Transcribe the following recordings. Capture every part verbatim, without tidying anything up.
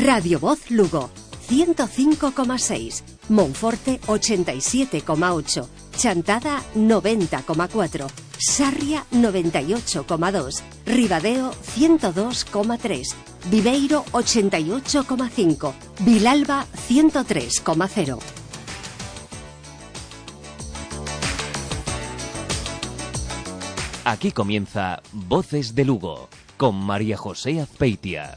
Radio Voz Lugo, ciento cinco coma seis, Monforte ochenta y siete coma ocho, Chantada noventa coma cuatro, Sarria noventa y ocho coma dos, Ribadeo ciento dos coma tres, Viveiro ochenta y ocho coma cinco, Vilalba ciento tres coma cero. Aquí comienza Voces de Lugo, con María José Azpeitia.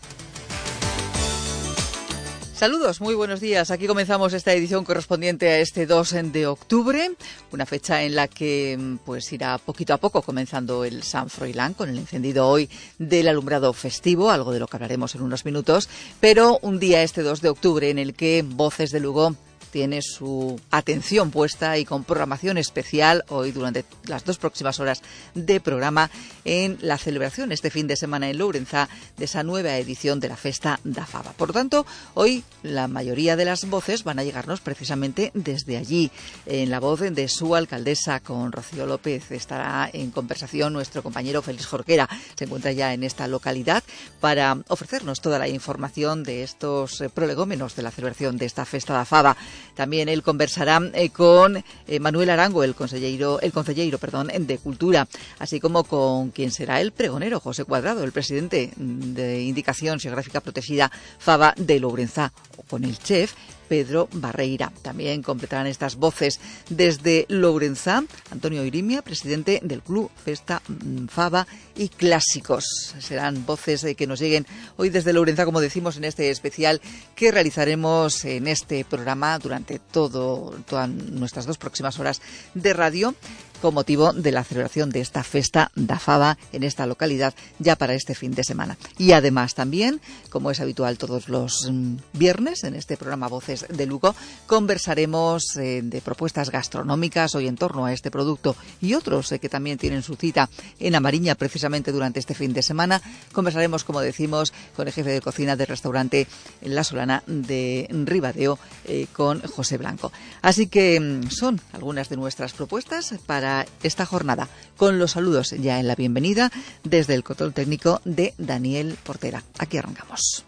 Saludos, muy buenos días. Aquí comenzamos esta edición correspondiente a este dos de octubre, una fecha en la que pues irá poquito a poco comenzando el San Froilán con el encendido hoy del alumbrado festivo, algo de lo que hablaremos en unos minutos, pero un día este dos de octubre en el que Voces de Lugo tiene su atención puesta y con programación especial hoy durante las dos próximas horas de programa en la celebración este fin de semana en Lourenzá de esa nueva edición de la Festa da Faba. Por lo tanto, hoy la mayoría de las voces van a llegarnos precisamente desde allí. En la voz de su alcaldesa con Rocío López estará en conversación nuestro compañero Félix Jorquera. Se encuentra ya en esta localidad para ofrecernos toda la información de estos prolegómenos de la celebración de esta Festa da Faba. También él conversará eh, con eh, Manuel Arango, el consellero, el consellero, perdón, de Cultura, así como con quien será el pregonero, José Cuadrado, el presidente de Indicación Xeográfica Protegida Faba de Lourenzá, o con el chef Pedro Barreira. También completarán estas voces desde Lourenzá Antonio Irimia, presidente del Club Festa Faba y Clásicos. Serán voces que nos lleguen hoy desde Lourenzá, como decimos, en este especial que realizaremos en este programa durante todo, todas nuestras dos próximas horas de radio, con motivo de la celebración de esta Festa da Faba en esta localidad ya para este fin de semana. Y además también, como es habitual todos los viernes en este programa Voces de Lugo, conversaremos eh, de propuestas gastronómicas hoy en torno a este producto y otros eh, que también tienen su cita en A Mariña precisamente durante este fin de semana. Conversaremos, como decimos, con el jefe de cocina del restaurante La Solana de Ribadeo, eh, con José Blanco. Así que son algunas de nuestras propuestas para esta jornada, con los saludos ya en la bienvenida desde el control técnico de Daniel Portera. Aquí arrancamos.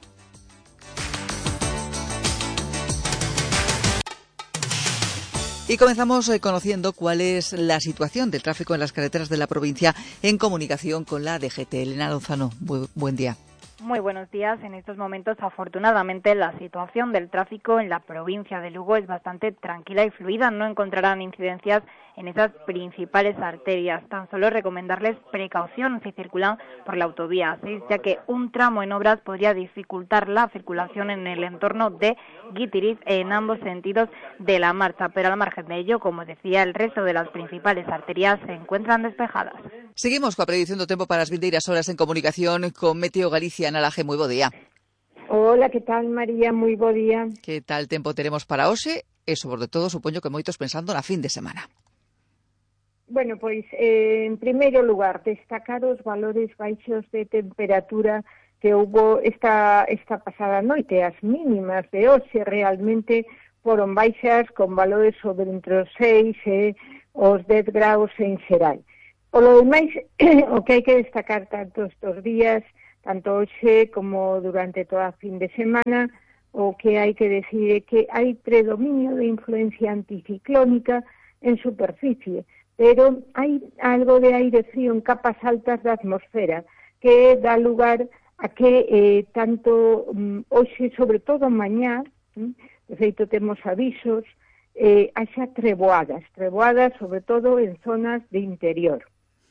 Y comenzamos conociendo cuál es la situación del tráfico en las carreteras de la provincia en comunicación con la D G T. Elena Lozano, bu- buen día. Muy buenos días. En estos momentos, afortunadamente, la situación del tráfico en la provincia de Lugo es bastante tranquila y fluida. No encontrarán incidencias en esas principales arterias. Tan solo recomendarles precaución si circulan por la autovía seis, ya que un tramo en obras podría dificultar la circulación en el entorno de Guitiriz en ambos sentidos de la marcha. Pero al margen de ello, como decía, el resto de las principales arterias se encuentran despejadas. Seguimos con la predicción do tempo para as vindeiras horas en comunicación con Meteo Galicia. Ana Laje, moi bo día. Hola, que tal, María? Moi bo día. Que tal tempo teremos para hoxe e, sobre todo, supoño que moitos pensando na fin de semana. Bueno, pois, eh, en primeiro lugar, destacar os valores baixos de temperatura que houbo esta, esta pasada noite. As mínimas de hoxe realmente foron baixas con valores sobre entre os seis e os dez graus en xeral. Por lo demais, o que hai que destacar tanto estes días, tanto hoxe como durante toda a fin de semana, o que hai que decir é que hai predominio de influencia anticiclónica en superficie, pero hai algo de aire frío en capas altas da atmosfera que dá lugar a que eh, tanto um, hoxe, sobre todo mañá, um, de feito temos avisos, eh, haxa treboadas, treboadas sobre todo en zonas de interior.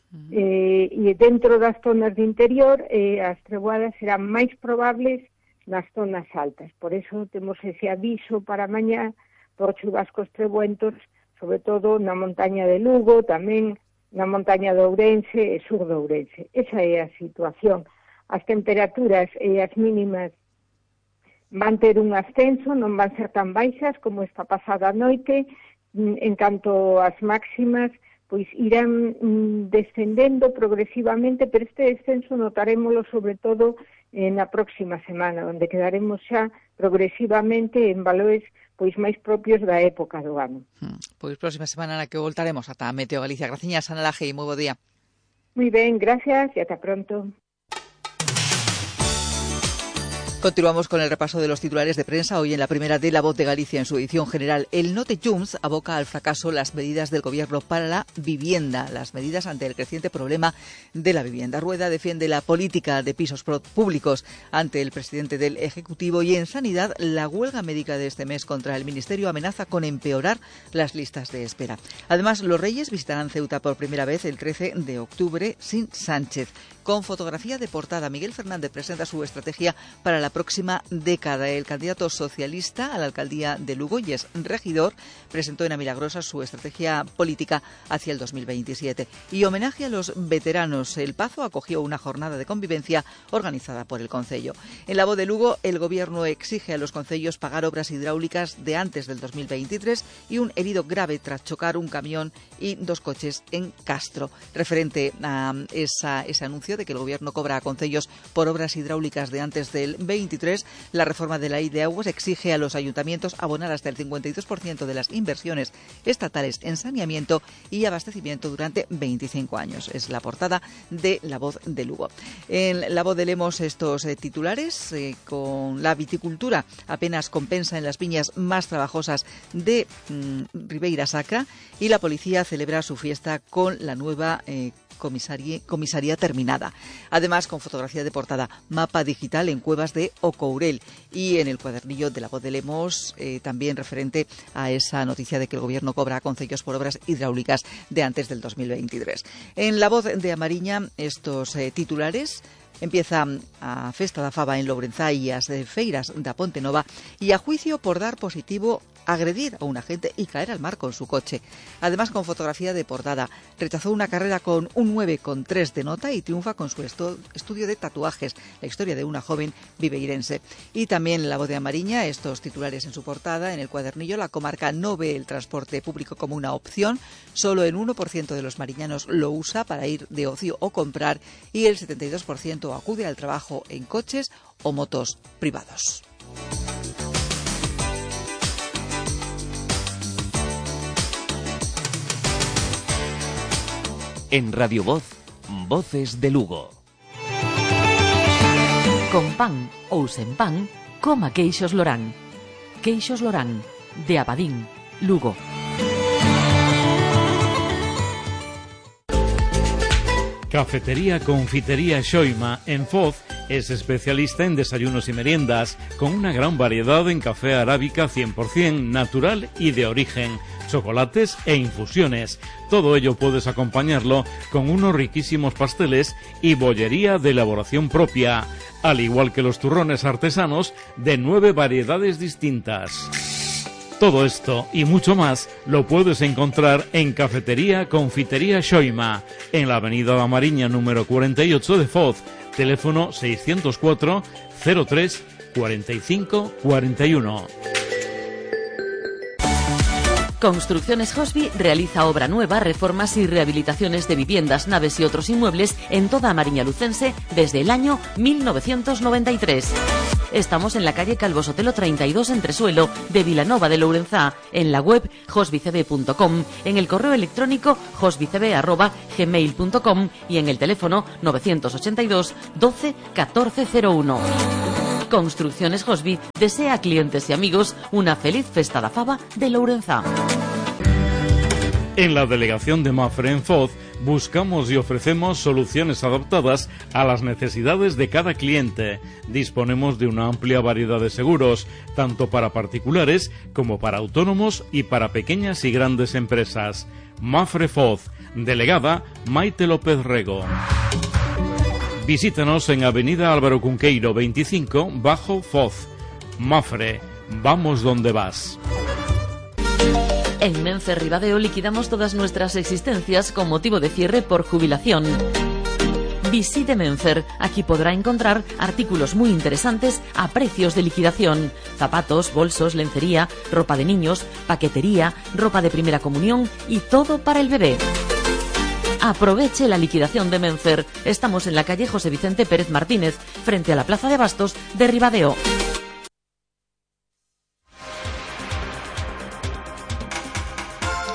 Uh-huh. Eh, e dentro das zonas de interior eh, as treboadas serán máis probables nas zonas altas. Por eso temos ese aviso para mañá por chubascos treboentos, sobre todo na montaña de Lugo, tamén na montaña de Ourense e sur de Ourense. Esa é a situación. As temperaturas e as mínimas van ter un ascenso, non van ser tan baixas como esta pasada noite. En canto ás máximas, pois irán mm, descendendo progresivamente, pero este descenso notarémoslo sobre todo eh, na próxima semana, onde quedaremos xa progresivamente en valores pois máis propios da época do ano. Hmm. Pois próxima semana na que voltaremos ata Meteo Galicia. Graciñas, Ana Laje, e moi bo día. Moi ben, gracias e ata pronto. Continuamos con el repaso de los titulares de prensa. Hoy en la primera de La Voz de Galicia, en su edición general, el Note Junts aboca al fracaso las medidas del Gobierno para la vivienda, las medidas ante el creciente problema de la vivienda. Rueda defiende la política de pisos públicos ante el presidente del Ejecutivo, y en Sanidad, la huelga médica de este mes contra el Ministerio amenaza con empeorar las listas de espera. Además, los Reyes visitarán Ceuta por primera vez el trece de octubre sin Sánchez. Con fotografía de portada, Miguel Fernández presenta su estrategia para la próxima década. El candidato socialista a la alcaldía de Lugo, y es regidor, presentó en A Milagrosa su estrategia política hacia el dos mil veintisiete. Y homenaje a los veteranos. El Pazo acogió una jornada de convivencia organizada por el Concello. En La Voz de Lugo, el Gobierno exige a los concellos pagar obras hidráulicas de antes del dos mil veintitrés y un herido grave tras chocar un camión y dos coches en Castro. Referente a esa, ese anuncio de que el Gobierno cobra a concellos por obras hidráulicas de antes del veintitrés, la reforma de la Ley de Aguas exige a los ayuntamientos abonar hasta el cincuenta y dos por ciento de las inversiones estatales en saneamiento y abastecimiento durante veinticinco años. Es la portada de La Voz de Lugo. En La Voz de Lemos, estos eh, titulares, eh, con la viticultura apenas compensa en las viñas más trabajosas de mm, Ribeira Sacra, y la policía celebra su fiesta con la nueva eh, Comisaría, comisaría terminada. Además, con fotografía de portada, mapa digital en cuevas de Ocourel, y en el cuadernillo de La Voz de Lemos, eh, también referente a esa noticia de que el Gobierno cobra a concellos por obras hidráulicas de antes del dos mil veintitrés. En La Voz de Amariña, estos eh, titulares. Empieza a Festa da Faba en Lourenzá e as feiras da Ponte Nova, y a juicio por dar positivo, agredir a un agente y caer al mar con su coche. Además, con fotografía de portada, rechazó una carrera con un nueve coma tres de nota y triunfa con su estu- estudio de tatuajes, la historia de una joven viveirense. Y también en La Voz de Amariña, estos titulares en su portada. En el cuadernillo, la comarca no ve el transporte público como una opción, solo el uno por ciento de los mariñanos lo usa para ir de ocio o comprar, y el setenta y dos por ciento acude al trabajo en coches o motos privados. En Radio Voz, Voces de Lugo. Con pan ou sen pan, coma queixos Lorán. Queixos Lorán, de Abadín, Lugo. Cafetería Confitería Xoima en Foz es especialista en desayunos y meriendas, con una gran variedad en café arábica cien por ciento natural y de origen, chocolates e infusiones. Todo ello puedes acompañarlo con unos riquísimos pasteles y bollería de elaboración propia, al igual que los turrones artesanos de nueve variedades distintas. Todo esto y mucho más lo puedes encontrar en Cafetería Confitería Xoima, en la avenida da Mariña número cuarenta y ocho de Foz, teléfono seiscientos cuatro, cero tres, cuarenta y cinco, cuarenta y uno. Construcciones Hosby realiza obra nueva, reformas y rehabilitaciones de viviendas, naves y otros inmuebles en toda Mariña Lucense desde el año mil novecientos noventa y tres. Estamos en la calle Calvo Sotelo treinta y dos, Entresuelo, de Vilanova de Lourenzá, en la web hosbycb punto com, en el correo electrónico hosbycb arroba gmail punto com y en el teléfono novecientos ochenta y dos, doce, catorce cero uno. Construcciones Hosby desea a clientes y amigos una feliz Festa da Faba de Lourenzá. En la delegación de Mafre en Foz buscamos y ofrecemos soluciones adaptadas a las necesidades de cada cliente. Disponemos de una amplia variedad de seguros, tanto para particulares como para autónomos y para pequeñas y grandes empresas. Mafre Foz, delegada Maite López Rego. Visítanos en Avenida Álvaro Cunqueiro veinticinco, Bajo Foz. Mafre, vamos donde vas. En Menfer Ribadeo liquidamos todas nuestras existencias con motivo de cierre por jubilación. Visite Menfer, aquí podrá encontrar artículos muy interesantes a precios de liquidación. Zapatos, bolsos, lencería, ropa de niños, paquetería, ropa de primera comunión y todo para el bebé. Aproveche la liquidación de Menfer. Estamos en la calle José Vicente Pérez Martínez, frente a la Plaza de Abastos de Ribadeo.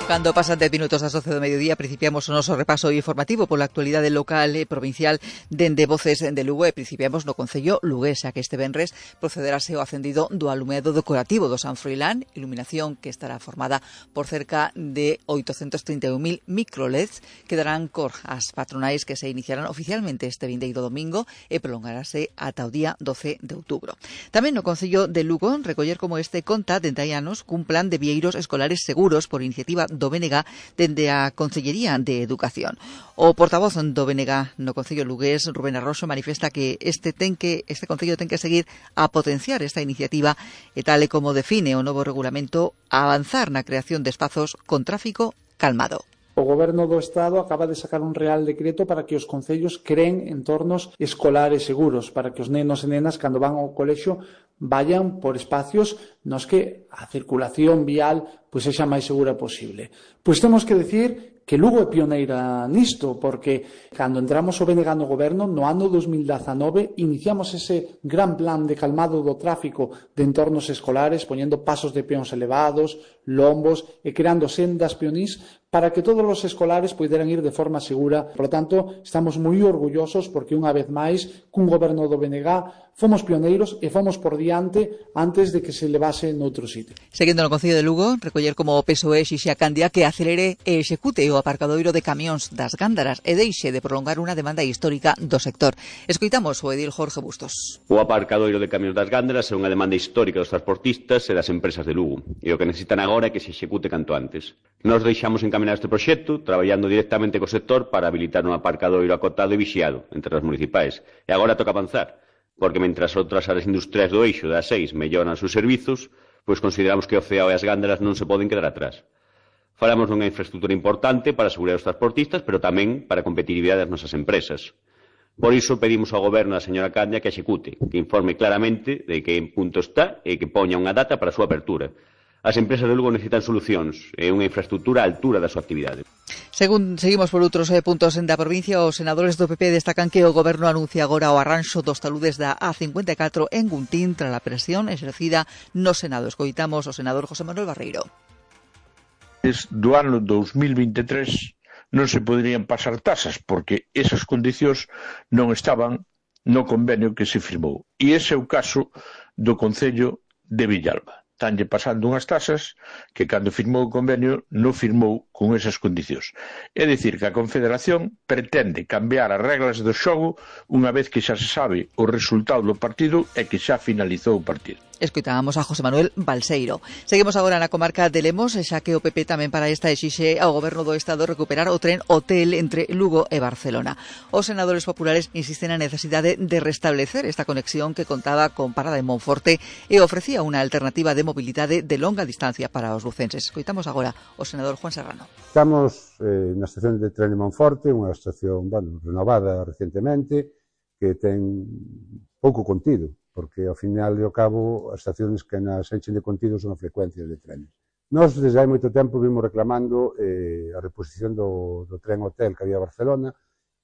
Cando pasan dez minutos das doce do mediodía, principiamos o noso repaso informativo pola actualidade local e provincial dende Voces de Lugo e principiamos no concello lugués, xa que este venres procederase o acendido do alumeado decorativo do San Froilán, iluminación que estará formada por cerca de oitocentos trinta e un mil microleds que darán cor ás patronais que se iniciarán oficialmente este vindeiro domingo e prolongarase ata o día doce de outubro. Tamén no concello de Lugo recoller como este conta dende hai anos cun plan de vieiros escolares seguros por iniciativa do B N G dende a Consellería de Educación. O portavoz do B N G no concello lugués, Rubén Arroxo, manifesta que este ten que este concello ten que seguir a potenciar esta iniciativa e tal e como define o novo regulamento a avanzar na creación de espazos con tráfico calmado. O Goberno do Estado acaba de sacar un real decreto para que os concellos creen entornos escolares seguros, para que os nenos e nenas, cando van ao colexio, vayan por espacios nos que a circulación vial pois sexa máis segura posible. Pois temos que decir que Lugo é pioneira nisto, porque cando entramos o B N G no goberno, no ano dos mil dezanove, iniciamos ese gran plan de calmado do tráfico de entornos escolares, poñendo pasos de peóns elevados, lombos e creando sendas peonís para que todos os escolares poideran ir de forma segura. Por lo tanto, estamos moi orgullosos porque, unha vez máis, cun goberno do B N G, fomos pioneiros e fomos por diante antes de que se levase noutro sitio. Seguindo no Concello de Lugo, recoller como o P S O E xixe a Candia que acelere e execute o aparcadoiro de camións das Gándaras e deixe de prolongar unha demanda histórica do sector. Escoitamos o edil Jorge Bustos. O aparcadoiro de camións das Gándaras é unha demanda histórica dos transportistas e das empresas de Lugo, e o que necesitan agora é que se execute canto antes. Nos deixamos encaminar este proxecto, traballando directamente co sector para habilitar un aparcadoiro acotado e vixiado entre as municipais. E agora toca avanzar, porque mentras outras áreas industriais do eixo das seis melloran os seus servizos, pois consideramos que o C E A e as Gándaras non se poden quedar atrás. Falamos dunha infraestructura importante para asegurar os transportistas, pero tamén para a competitividade das nosas empresas. Por iso pedimos ao goberno da señora Candia que execute, que informe claramente de que en punto está e que poña unha data para a súa apertura. As empresas de Lugo necesitan solucións e unha infraestructura á altura da súa actividade. Según seguimos por outros eh, puntos da provincia, os senadores do P P destacan que o goberno anuncia agora o arranxo dos taludes da A cincuenta e catro en Guntín tras a presión exercida no Senado. Escoitamos o senador José Manuel Barreiro. Do ano dos mil vinte e tres non se poderían pasar tasas porque esas condicións non estaban no convenio que se firmou. E ese é o caso do Concello de Villalba. Tanlle pasando unhas tasas que cando firmou o convenio non firmou con esas condicións. É dicir, que a Confederación pretende cambiar as reglas do xogo unha vez que xa se sabe o resultado do partido e que xa finalizou o partido. Escoitábamos a José Manuel Balseiro. Seguimos agora na comarca de Lemos, xa que o P P tamén para esta exixe ao goberno do Estado recuperar o tren hotel entre Lugo e Barcelona. Os senadores populares insisten na necesidade de restablecer esta conexión que contaba con parada en Monforte e ofrecía unha alternativa de mobilidade de longa distancia para os lucenses. Escoitamos agora o senador Juan Serrano. Estamos eh, na estación de tren de Monforte, unha estación bueno, renovada recentemente, que ten pouco contido, porque ao final e ao cabo as estacións que nas enchen de contido son as frecuencias de trenes. Nós desde hai moito tempo vimos reclamando eh, a reposición do, do tren hotel que había a Barcelona,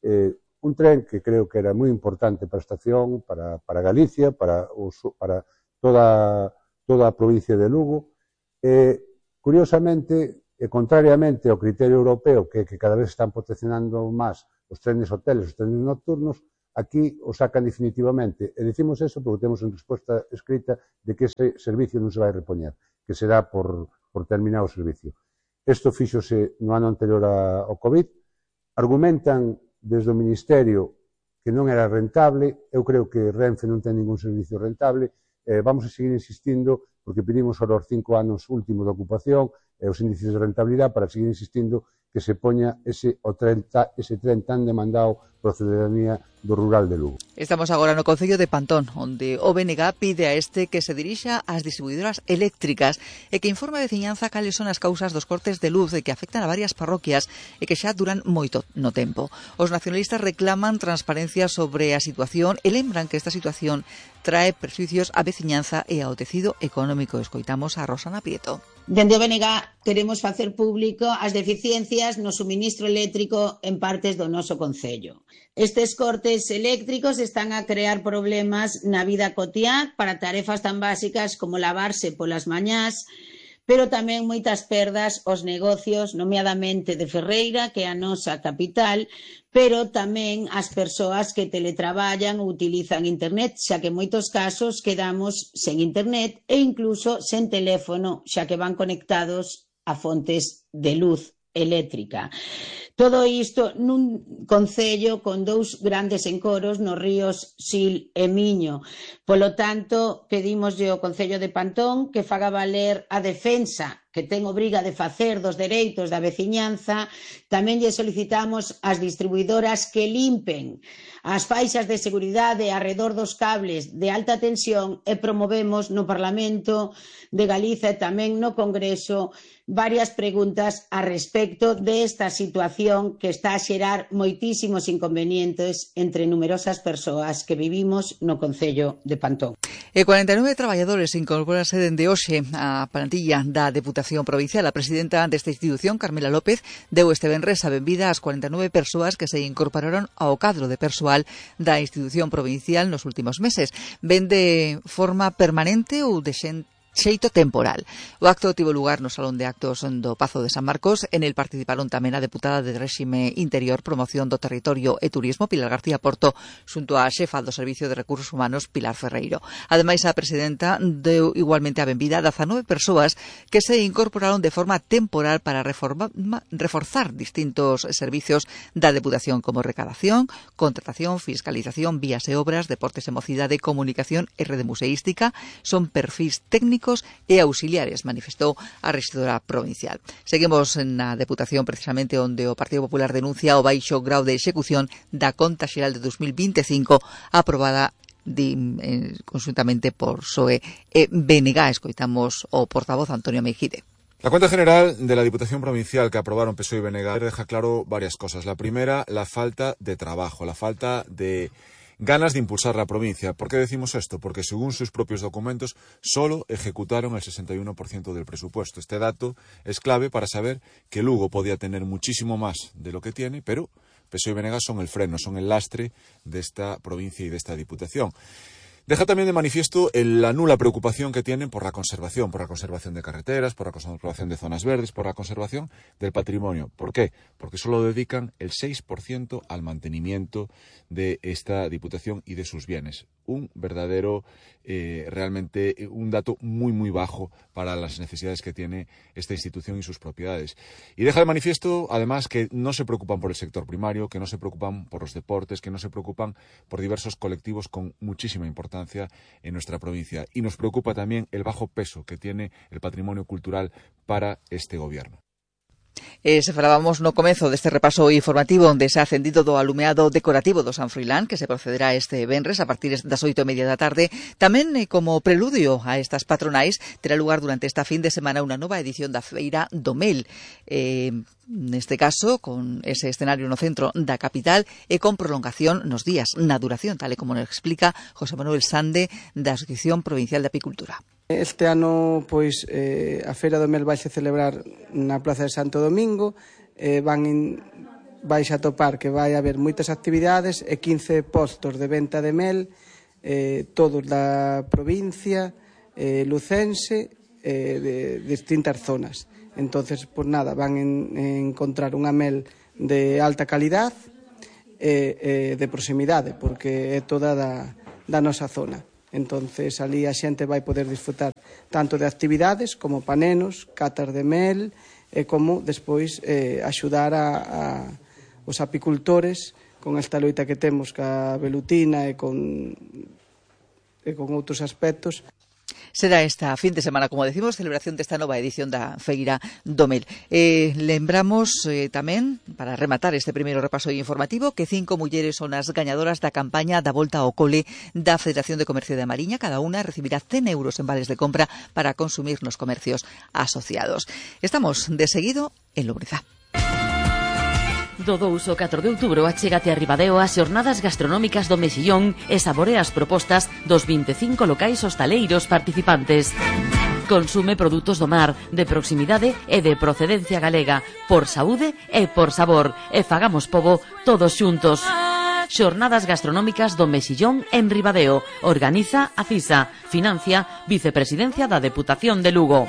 eh, un tren que creo que era moi importante para a estación, para, para Galicia, para, os, para toda, toda a provincia de Lugo. Eh, curiosamente, e contrariamente ao criterio europeo, que, que cada vez están proteccionando máis os trenes hoteles, os trenes nocturnos, aquí o sacan definitivamente. E dicimos eso porque temos en resposta escrita de que ese servicio non se vai repoñer, que será por, por terminar o servicio. Isto fíxose no ano anterior a, ao COVID. Argumentan desde o Ministerio que non era rentable. Eu creo que Renfe non ten ningún servicio rentable. Eh, vamos a seguir insistindo porque pedimos ahora os cinco anos últimos de ocupación e os índices de rentabilidade para seguir insistindo que se poña ese, o tren, ese tren tan demandado por a ciudadanía do rural de Lugo. Estamos agora no Concello de Pantón, onde o B N G pide a este que se dirixa ás distribuidoras eléctricas e que informe a veciñanza cales son as causas dos cortes de luz e que afectan a varias parroquias e que xa duran moito no tempo. Os nacionalistas reclaman transparencia sobre a situación e lembran que esta situación trae perjuicios á veciñanza e ao tecido económico. Escoitamos a Rosana Prieto. Dende o B N G queremos facer público as deficiencias no suministro eléctrico en partes do noso concello. Estes cortes eléctricos están a crear problemas na vida cotiá para tarefas tan básicas como lavarse polas mañás, pero tamén moitas perdas aos negocios, nomeadamente de Ferreira, que é a nosa capital, pero tamén as persoas que teletraballan ou utilizan internet, xa que en moitos casos quedamos sen internet e incluso sen teléfono, xa que van conectados a fontes de luz eléctrica. Todo isto nun concello con dous grandes encoros nos ríos Sil e Miño. Polo tanto, pedimoslle ao Concello de Pantón que faga valer a defensa que ten obriga de facer dos dereitos da veciñanza. Tamén lle solicitamos ás distribuidoras que limpen as faixas de seguridade arredor dos cables de alta tensión e promovemos no Parlamento de Galiza e tamén no Congreso varias preguntas a respecto desta situación que está a xerar moitísimos inconvenientes entre numerosas persoas que vivimos no Concello de Pantón. E cuarenta e nove traballadores incorporanse dende hoxe á plantilla da Deputación Provincial. A presidenta desta institución, Carmela López, deu este venres a benvida ás cuarenta e nove persoas que se incorporaron ao cadro de persoal da institución provincial nos últimos meses. Ven de forma permanente ou de xente xeito temporal. O acto tivo lugar no Salón de Actos do Pazo de San Marcos. En el participaron tamén a deputada de Réxime Interior, Promoción do Territorio e Turismo, Pilar García Porto, xunto a xefa do Servicio de Recursos Humanos, Pilar Ferreiro. Ademais, a presidenta deu igualmente a benvida a dezanove persoas que se incorporaron de forma temporal para reforma, reforzar distintos servicios da Deputación como recadación, contratación, fiscalización, vías e obras, deportes e mocidade, comunicación e rede museística. Son perfis técnicos e auxiliares, manifestou a rexedora provincial. Seguimos na Deputación precisamente onde o Partido Popular denuncia o baixo grau de execución da Conta Xeral de dos mil vinte e cinco aprobada de, eh, conjuntamente por P S O E e B N G. Escoitamos o portavoz Antonio Meijide. La cuenta general de la Diputación Provincial que aprobaron P S O E y B N G deja claro varias cosas. La primera, la falta de trabajo, la falta de ganas de impulsar la provincia. ¿Por qué decimos esto? Porque según sus propios documentos, solo ejecutaron el sesenta y uno por ciento del presupuesto. Este dato es clave para saber que Lugo podía tener muchísimo más de lo que tiene, pero P S O E y B N G son el freno, son el lastre de esta provincia y de esta diputación. Deja también de manifiesto la nula preocupación que tienen por la conservación, por la conservación de carreteras, por la conservación de zonas verdes, por la conservación del patrimonio. ¿Por qué? Porque solo dedican el seis por ciento al mantenimiento de esta diputación y de sus bienes. Un verdadero, eh, realmente, un dato muy, muy bajo para las necesidades que tiene esta institución y sus propiedades. Y deja de manifiesto, además, que no se preocupan por el sector primario, que no se preocupan por los deportes, que no se preocupan por diversos colectivos con muchísima importancia en nuestra provincia. Y nos preocupa también el bajo peso que tiene el patrimonio cultural para este gobierno. Eh, se falábamos no comezo deste repaso informativo onde se ha acendido do alumeado decorativo do San Froilán, que se procederá este venres a partir das oito e media da tarde. Tamén eh, como preludio a estas patronais terá lugar durante esta fin de semana unha nova edición da Feira do Mel. Eh, neste caso, con ese escenario no centro da capital e con prolongación nos días, na duración, tal e como nos explica José Manuel Sande da Asociación Provincial de Apicultura. Este ano, pois, eh, a Feira do Mel vaise celebrar na Praza de Santo Domingo. Eh, van in, vais a topar que vai haber moitas actividades e quince postos de venta de mel, eh, todos da provincia, eh, lucense, eh, de distintas zonas. Entonces, pues nada, van en, en encontrar unha mel de alta calidad e eh, eh, de proximidade, porque é toda da, da nosa zona. Entonces, ali a xente vai poder disfrutar tanto de actividades como panenos, catas de mel, e como despois eh, axudar a, a os apicultores con esta loita que temos ca velutina e con, e con outros aspectos. Será esta fin de semana, como decimos, celebración desta nova edición da Feira do Mel. Eh, lembramos eh, tamén, para rematar este primeiro repaso informativo, que cinco mulleres son as gañadoras da campaña da Volta ao Cole da Federación de Comercio de Mariña. Cada unha recibirá cen euros en vales de compra para consumir nos comercios asociados. Estamos de seguido en Lubriza. Do dous ao catro de outubro achégate a Ribadeo ás xornadas gastronómicas do Mexillón e saborea as propostas dos vinte e cinco locais hostaleiros participantes. Consume produtos do mar, de proximidade e de procedencia galega, por saúde e por sabor, e fagamos pobo todos xuntos. Xornadas gastronómicas do Mexillón en Ribadeo. Organiza a CISA. Financia Vicepresidencia da Deputación de Lugo.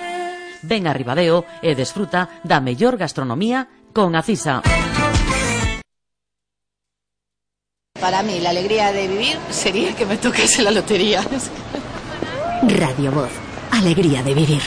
Ven a Ribadeo e desfruta da mellor gastronomía con Acisa. Para mí, la alegría de vivir sería que me tocase la lotería. Radio Voz, alegría de vivir.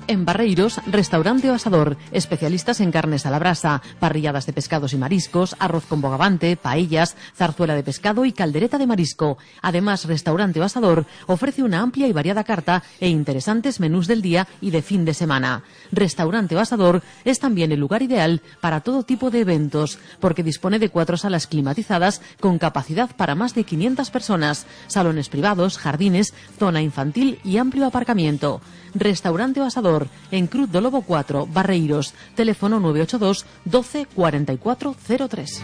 En Barreiros, Restaurante O Asador, especialistas en carnes a la brasa, parrilladas de pescados y mariscos, arroz con bogavante, paellas, zarzuela de pescado y caldereta de marisco. Además, Restaurante O Asador ofrece una amplia y variada carta e interesantes menús del día y de fin de semana. Restaurante O Asador es también el lugar ideal para todo tipo de eventos, porque dispone de cuatro salas climatizadas con capacidad para más de quinientas personas, salones privados, jardines, zona infantil y amplio aparcamiento. Restaurante O Asador, en Cruz do Lobo cuatro, Barreiros, teléfono nueve ocho dos, doce, cuarenta y cuatro cero tres.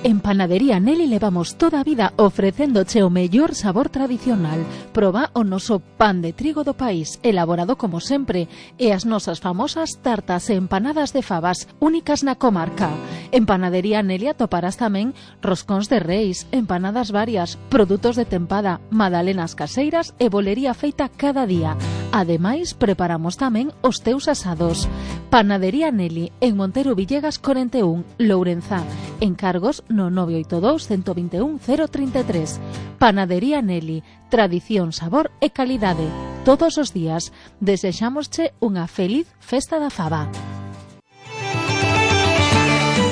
En Panadería Nelly levamos toda a vida ofrecéndoche o mellor sabor tradicional. Proba o noso pan de trigo do país, elaborado como sempre, e as nosas famosas tartas e empanadas de fabas, únicas na comarca. En Panadería Nelly atoparás tamén roscóns de reis, empanadas varias, produtos de tempada, magdalenas caseiras e bolería feita cada día. Ademais, preparamos tamén os teus asados. Panadería Nelly, en Montero Villegas cuarenta y uno, Lourenzá. Encargos no nove oito dous, uno dos uno, cero tres tres. Panadería Nelly, tradición, sabor e calidade. Todos os días desexámosche unha feliz festa da faba.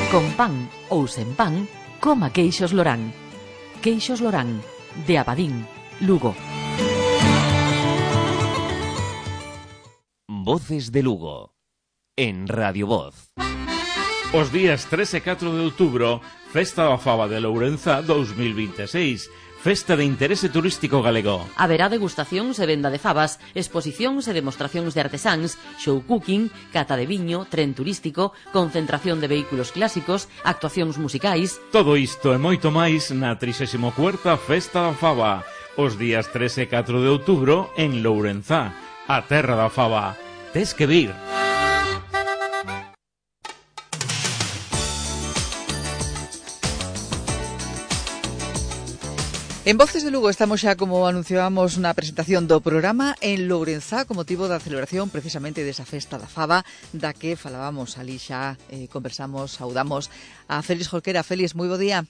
Con pan ou sen pan, coma queixos Lorán. Queixos Lorán, de Abadín, Lugo. Voces de Lugo, en Radio Voz. Os días tres e catro de outubro, Festa da Faba de Lourenzá dous mil veintiséis, Festa de Interese Turístico Galego. Haberá degustacións e venda de fabas, exposicións e demostracións de artesáns, show cooking, cata de viño, tren turístico, concentración de vehículos clásicos, actuacións musicais. Todo isto e moito máis na trixésima cuarta Festa da Faba, os días tres e catro de outubro en Lourenzá, a terra da faba. Tes que vir. En Voces de Lugo estamos xa, como anunciábamos, na presentación do programa en Lourenzá, con motivo da celebración precisamente desa Festa da Faba, da que falábamos ali xa, eh, conversamos, saudamos a Félix Jorquera. Félix, moi bo día.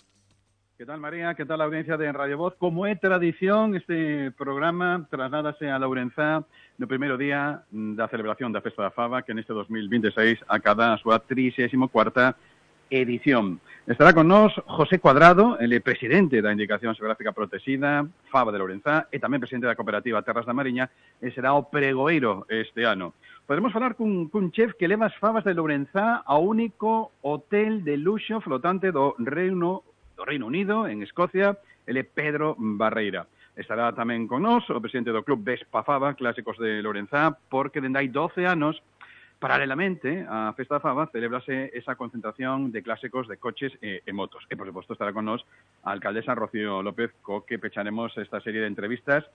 Que tal, María? Que tal a audiencia de Radio Voz? Como é tradición, este programa trasládase a Lourenzá no primeiro día da celebración da Festa da Faba, que neste dos mil veintiséis acada a súa trixésima cuarta edición. Estará con nós José Cuadrado, ele presidente da Indicación Xeográfica Protexida, Faba de Lourenzá, e tamén presidente da cooperativa Terras da Mariña, e será o pregoeiro este ano. Podemos falar cun, cun chef que leva as fabas de Lourenzá ao único hotel de luxo flotante do Reino, do Reino Unido, en Escocia, ele Pedro Barreira. Estará tamén con nós o presidente do Club Vespa Faba, Clásicos de Lourenzá, porque dende hai doce anos, paralelamente á Festa da Faba, celebrase esa concentración de clásicos de coches e, e motos. E, por suposto, estará con nós a alcaldesa Rocío López, co que pecharemos esta serie de entrevistas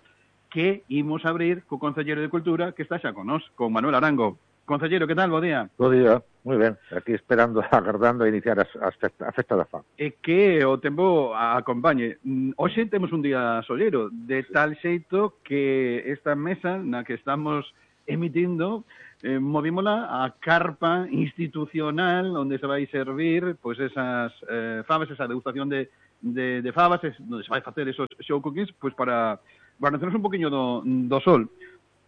que imos abrir co Concelleiro de Cultura, que está xa con nós, con Manuel Arango. Concelleiro, que tal? Bo día. Bo día, moi ben. Aquí esperando, agardando a iniciar as, as festa, a Festa da Faba. E que o tempo acompañe. Hoxe temos un día sollero, de tal xeito que esta mesa na que estamos emitindo, eh, movímola a carpa institucional onde se vai servir pois esas eh, fabas, esa degustación de, de, de fabas, es, onde se vai facer esos show cookies, pois para guarnecernos un poquinho do, do sol.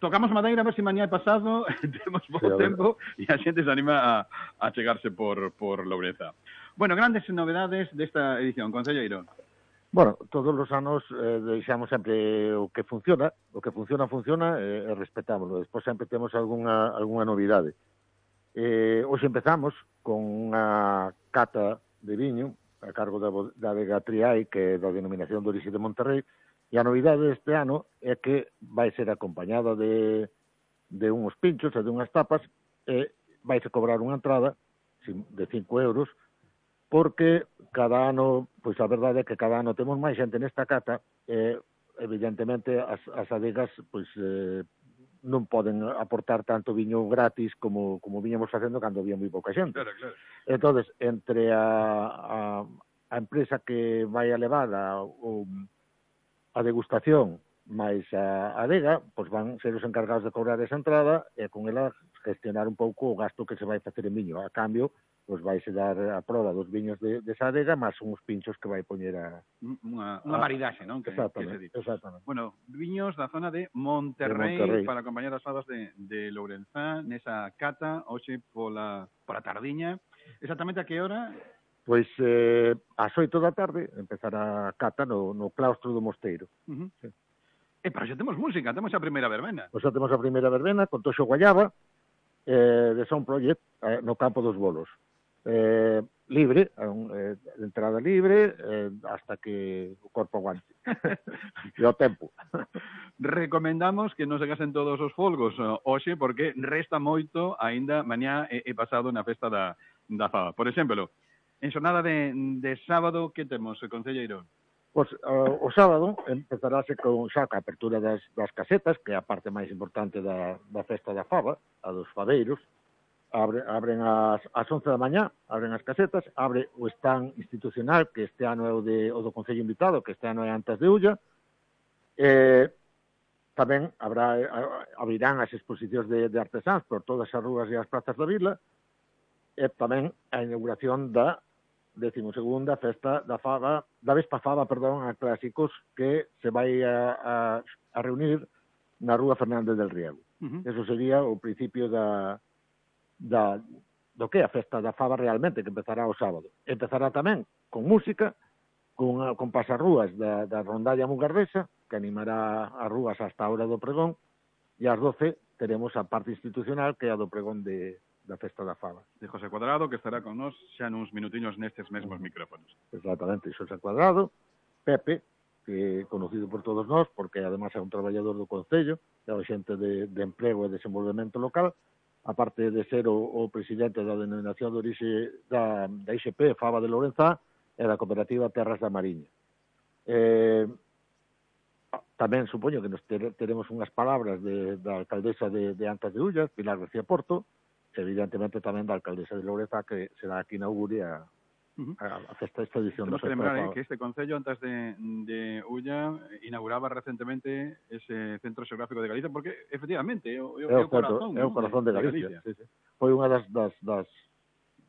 Tocamos madeira a ver se mañá é pasado, temos pouco sí, tempo e a xente se anima a, a chegarse por, por Lourenzá. Bueno, grandes novedades desta edición, concelleiro. Bueno, todos os anos eh, deixamos sempre o que funciona, o que funciona, funciona e, e respetámoslo. Despois sempre temos algunha, algunha novidade. Eh, hoxe empezamos con unha cata de viño a cargo da, da Vega Triai, que é da denominación de orixe de Monterrey, e a novidade deste ano é que vai ser acompañada de, de unhos pinchos e de unhas tapas, e vai se cobrar unha entrada de cinco euros, porque cada ano, pois a verdade é que cada ano temos máis xente nesta cata, e evidentemente as, as adegas pois eh, non poden aportar tanto viño gratis como, como viñamos facendo cando había moi pouca xente. Claro, claro. Entonces, entre a, a, a empresa que vai a levar a, o, a degustación máis a adega, pois van ser os encargados de cobrar esa entrada e con ela gestionar un pouco o gasto que se vai facer en viño. A cambio, pois vaise dar a prova dos viños de, de esa adega, máis uns pinchos que vai poñer a... Unha, unha maridaxe, non? Que, exactamente, que se exactamente. Bueno, viños da zona de Monterrey, de Monterrey. Para acompañar as favas de, de Lourenzá, nesa cata, hoxe pola, pola tardiña. Exactamente a que hora? Pois eh, ás oito da tarde empezará a cata no, no claustro do mosteiro. Uh -huh. Sí. E para xa temos música, temos a primeira verbena. Pois xa temos a primeira verbena con Toxo Guayaba, eh, de Sound Project, eh, no campo dos bolos. Eh, libre, eh, entrada libre, eh, hasta que o corpo aguante. E o tempo. Recomendamos que non se gasten todos os folgos hoxe, porque resta moito aínda mañá e, e pasado na festa da, da Faba. Por exemplo, en xornada de, de sábado, que temos, concelleiro? Pois uh, o sábado empezarase con xa a apertura das, das casetas, que é a parte máis importante da, da festa da Faba, a dos fabeiros. Abre, abren as, as once da mañá, abren as casetas, abre o stand institucional, que este ano é o, de, o do Concello Invitado, que este ano é Antas de Ulla. Eh, tamén habrá, abrirán as exposicións de, de artesáns por todas as rúas e as plazas da vila, e tamén a inauguración da decimosegunda festa da Faba, da Vespa Faba, perdón, a clásicos, que se vai a, a, a reunir na Rúa Fernández del Riego. Uh -huh. Eso sería o principio da, da do que é a festa da Faba realmente, que empezará o sábado. Empezará tamén con música, con, con pasarrúas da, da rondalla mugardesa, que animará as rúas hasta a hora do pregón, e ás doce teremos a parte institucional, que é a do pregón de da festa da Faba. De José Cuadrado, que estará con nós xa nuns minutiños nestes mesmos micrófonos. Exactamente, José Cuadrado, Pepe, que é conocido por todos nós, porque además é un traballador do Concello, é o xente de, de emprego e desenvolvemento local, aparte de ser o, o presidente da denominación de orixe da, da I X P, Faba de Lourenzá, e da cooperativa Terras da Mariña. Eh, tamén supoño que nos ter, teremos unhas palabras de, da alcaldesa de, de Antas de Ulla, Pilar García Porto, evidentemente tamén da alcaldesa de Lourenzá, que será aquí inaugure a, uh -huh. a, a festa, esta edición. Temos que lembrar eh, que este Concello, antes de, de Ulla, inauguraba recentemente ese Centro Xeográfico de Galicia, porque, efectivamente, é o, é o, é o corazón, é o corazón de, de Galicia. De Galicia. Sí, sí. Foi unha das, das, das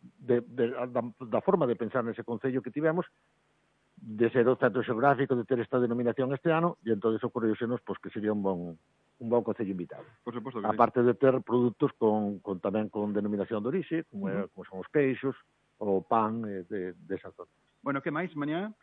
de, de, da, da forma de pensar nese Concello que tivemos, de ser o Centro Xeográfico, de ter esta denominación este ano, e entón ocorreusenos pois, que sería un bon un bon concello invitado. Por suposto que aparte sí. de ter produtos con, con tamén con denominación de orixe, como, uh -huh. como son os queixos, o pan eh, de, de esa zona. Bueno, que máis mañá?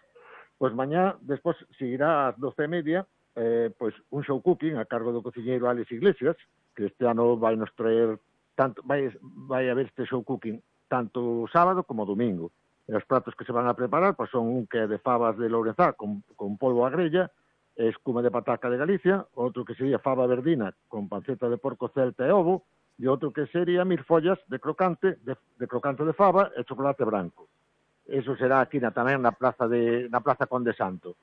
Pois mañá, despois, seguirá ás doce e media, eh, pois un show cooking a cargo do cociñeiro Alex Iglesias, que este ano vai nos traer, tanto, vai, vai haber este show cooking tanto sábado como domingo. E os pratos que se van a preparar pois son un que é de fabas de Lourenzá con, con polvo a grella, escuma de pataca de Galicia, outro que sería fava verdina con panceta de porco celta e ovo, e outro que sería mil follas de crocante, de, de crocante de fava e chocolate branco. Eso será aquí na, tamén na plaza de na plaza Conde Santo.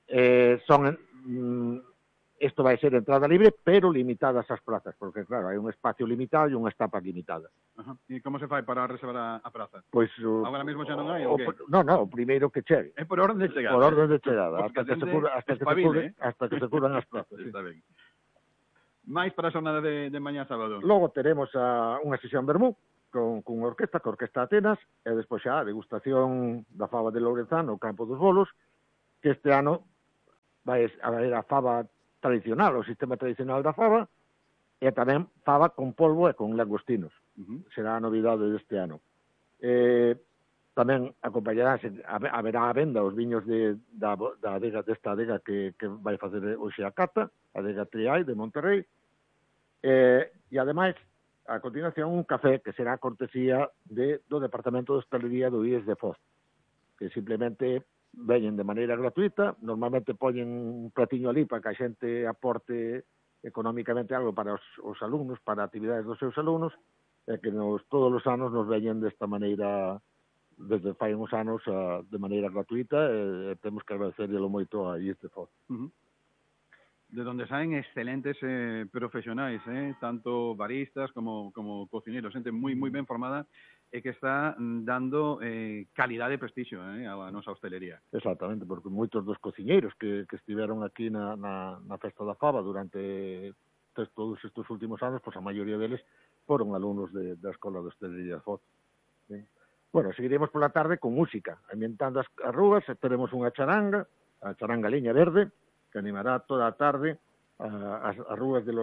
Eh, son mm, isto vai ser entrada libre, pero limitadas as plazas, porque claro, hai un espacio limitado e unha estampa limitada. Ajá. E como se fai para reservar a, a praza? Pois o, agora mesmo xa non hai, o, o que? Non, non, o primeiro que chegue. É por orden de chegada. Por orden de chegada, hasta que se cura, hasta que se cure, eh? hasta que se curan as plazas. Está sí. ben. máis para a xornada de, de mañá sábado. Logo teremos a, unha sesión vermú con, con unha orquesta, con Orquesta Atenas, e despois xa a degustación da fava de Lourenzá no Campo dos Bolos, que este ano vai a ver a fava tradicional, o sistema tradicional da fava, e tamén fava con polvo e con langostinos. Uh -huh. Será a novidade deste ano. Eh, tamén acompañarase, haberá a venda os viños de, da, da adega, desta adega que, que vai facer hoxe a cata, a adega Triai de Monterrey, eh, e ademais, a continuación, un café que será cortesía de, do Departamento de Hostalería do I E S de Foz, que simplemente veñen de maneira gratuita, normalmente poñen un platiño ali para que a xente aporte económicamente algo para os, os alumnos, para actividades dos seus alumnos, e que nos, todos os anos nos veñen desta maneira, desde fai uns anos, a, de maneira gratuita, e, e temos que agradecerlo moito a I E S de Foz. Uh -huh. De donde saen excelentes eh, profesionais, eh, tanto baristas como, como cocineros, xente moi moi ben formada e que está dando eh, calidade e prestixio eh, a nosa hostelería. Exactamente, porque moitos dos cociñeiros que, que estiveron aquí na, na, na Festa da Fava durante todos estes últimos anos, pois a maioría deles foron alumnos de, da Escola de Hostelería Foz. ¿Sí? Bueno, seguiremos pola tarde con música, ambientando as, as rúas, teremos unha charanga, a charanga Liña Verde, que animará toda a tarde a, as, as rúas de los